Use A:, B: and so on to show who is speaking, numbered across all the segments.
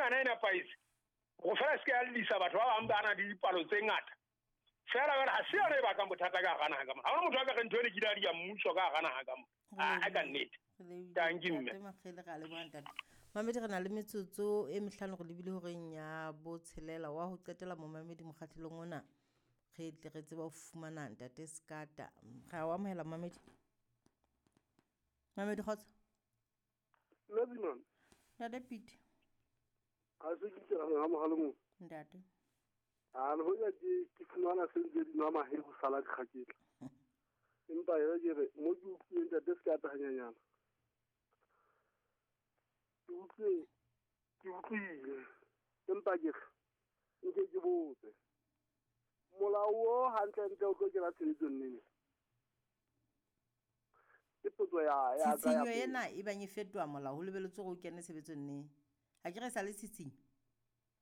A: enana e nepahetse go fela se ke ya llisa batho ba bang ba na le dipalo tse ngata fela jale ga se yone e bakang bothata ka gara naga ka mona. Ga gona motho a ka re ntho ene kile a dia mmuso ka gara naga ka mona. A ka nnete. Tanki mme.
B: Makgele ga leboga ntate. Mamedi, re na le metsotso e mehlano go lebile horeng ya botshelela wa ho qetela momamedi mokgahlelong ona. Re tle re tsebe ho fumana ntate Sekata. Re a o amohela momamedi. Mamedi kgotso.
C: Nna
B: Ntate Pete.
C: Ha se ke tsela ha mohalo mo.
B: Ntate.
C: A le hoja ke fumana se ntse di nwa mahe ho sala dikgaketla. Empa yona ke re mo ke utlwileng ntate se ka tahanyanyana. Ke utlwile ke utlwile empa ke re nke ke botse. Molao o hantle-ntle o tlo kena tshebetsong neng? Ke potso ya ya ka ya
B: Tshitshinyo
C: pele.
B: ena e bang e fetoha molao ho lebeletswe hore o kene tshebetsong neng? Ha ke re e sa le tshitshinyo.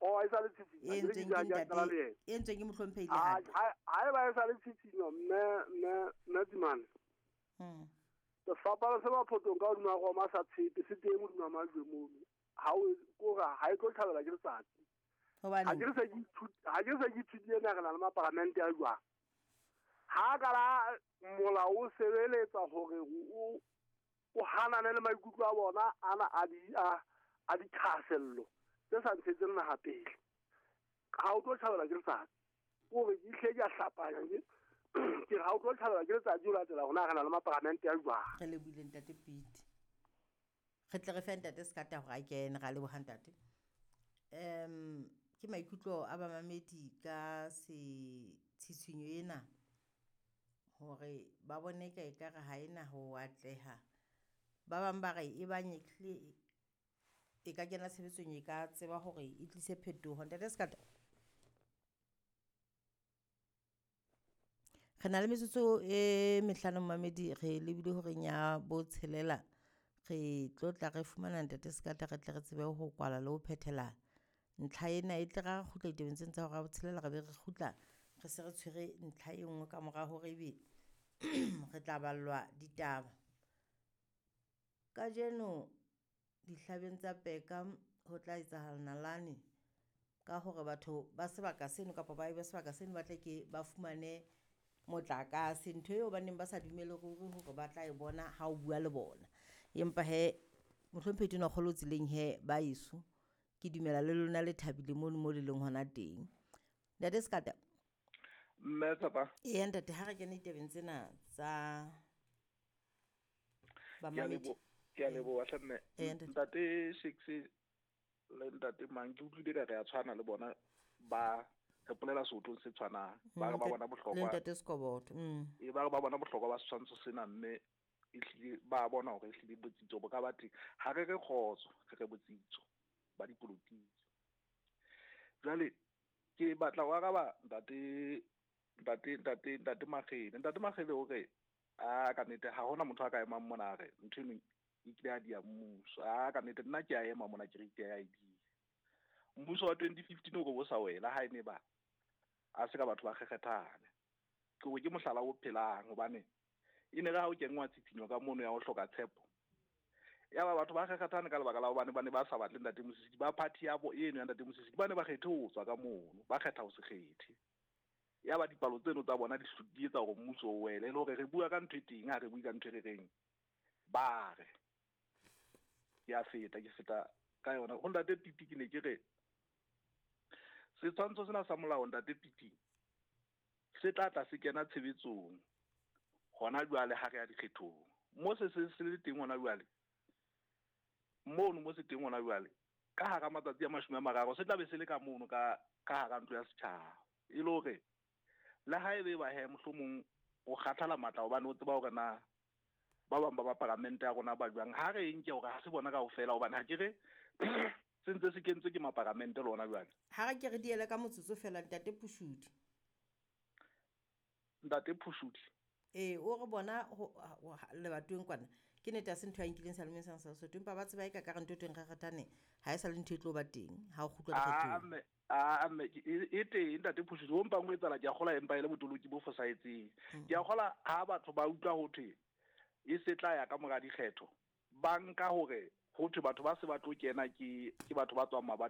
C: Oh, e sa le tshitshinyo.
B: E entsweng ke ntate, e entsweng ke mohlomphehi Lehata.
C: Ha eba e sa le tshitshinyo mme mme mme Tsimane. Sefapano se maphotong ka hodima Roma sa tshepe se teng hodima majwe mono. Ha o kore ha e tlo tjhabela ke letsatsi.
B: Hobaneng?
C: Ha ke re se ke ha ke se ke ithutile na re na le maparamente a jwang. Ha ka la molao o sebeletsa hore o hanane le maikutlo a bona ana a di a dithahasello tse sa ntshetseng naha pele. Ha o tlo tjhabela ke letsatsi. Kore ke hle ke a hlapanya ke ke ha o tlo tjhabela ke letsatsi o latela hore na re na le maparamente a jwang.
B: Re lebohile ntate Pete. Re tle re fe ntate Sekata hore a kene, ra leboha ntate. Ke maikutlo a bamamedi ka se tshitshinyo ena hore ba bone ka ekare ha ena ho atleha. Ba bang ba re e bang ehlile e ka kena tshebetsong e ka tseba hore e tlise phetoho. Ntate Sekata. Re na le metsotso e mehlano momamedi, re lebile horeng ya botshelela. Re tlo tla re fumana ntate Sekata re tle re tsebe ho kwala le ho phethela ntlha ena. E tle ra kgutla ditabeng tsena tsa hora ya botshelela, re be re kgutla re se re tshwere ntlha e nngwe ka mora hore ebe re tla ballwa ditaba. Kajeno dihlabeng tsa Peka ho tla etsahala nalane ka hore batho ba sebaka seno kapa baahi ba sebaka seno ba tle ke ba fumane motlakase, ntho eo ba neng ba sa dumele ruri hore ba tla e bona ha o bua le bona. Empa he mohlomphehi Tonakgolo tseleng he ba eso ke dumela le lona le thabile mono mo le leng hona teng. Ntate Sekata.
D: Mme Tshepa.
B: Eya ntate, ha re kene ditabeng tsena tsa bamamedi.
D: Ke a leboha hle mme.
B: Eya ntate.
D: Ntate Shakes le ntate Mang ke utlwile ka re a tshwana le bona ba re polela seotlong se tshwanang. Ba re ba bona bohlokwa.
B: Le ntate Sekoboto.
D: E ba re ba bona bohlokwa ba setshwantsho sena mme ehlile ba bona hore ehlile botsitso bo ka ba teng. Ha re re kgotso, re re botsitso ba dipolotiki. Jwale ke batla ho araba ntate Makgele. Ntate Makgele o re a ka nnete ha hona motho a ka emang mona a re ntho eno e kile ya dia mmuso. A ka nnete nna ke a ema mona ke re ke ya e dia. Mmuso wa 2015 o re bo sa wela ha ene ba a se ka batho ba kgekgethane. Ke hore ke mohlala o phelang hobane e ne re ha o kenngwa tshitshinyo ka mono ya ho hloka tshepo. Ya ba batho ba kgekgethane ka lebaka la hobane ba ne ba sa batle ntate Mosisili, ba party ya bo eno ya ntate Mosisili ba ne ba kgethe ho tswa ka mono, ba kgetha ho se kgethe. Ya ba dipalo tseno tsa bona di etsa hore mmuso o wele, e le hore re bua ka ntho e teng, ha re bue ka ntho e re reng ba re. Ke a feta, ke feta ka yona. Ho ntate Piti ke ne ke re setshwantsho sena sa molao ntate Piti se tla tla se kena tshebetsong hona jwale ha re ya dikgethong. Mo se se le teng hona jwale, mono mo se teng hona jwale ka hara matsatsi a 30 se tla be se le ka mono ka hara ntlo ya setjhaba. E le hore le ha ebe ba he mohlomong o kgathala matla hobane o tseba hore na ba bang ba ba paramente ya rona ba jwang, ha re nke hore ha se bona kaofela hobane ha ke re se ntse se kentswe ke maparamente le hona jwale.
B: Ha re ke re diele ka motsotso fela ntate Phushudi.
D: Ntate Phushudi.
B: Ee, o re bona lebatoweng kwana ke nnete ha se ntho ya nkileng sa lemeng sa Sesotho, empa ba tseba e ka ka re ntho e teng kgakgathane ha e sa le ntho e tlo ba teng ha o kgutlwa dikgethong.
D: Mme e teng ntate Phushudi, ho mpang ho etsahala ke a kgolwa empa e le botoloki bo fosahetseng. Ke a kgolwa ha batho ba utlwa ho thwe e se tla ya ka mora dikgetho, ba nka hore ho thwe batho ba se ba tlo kena ke batho ba tswang mabatoweng.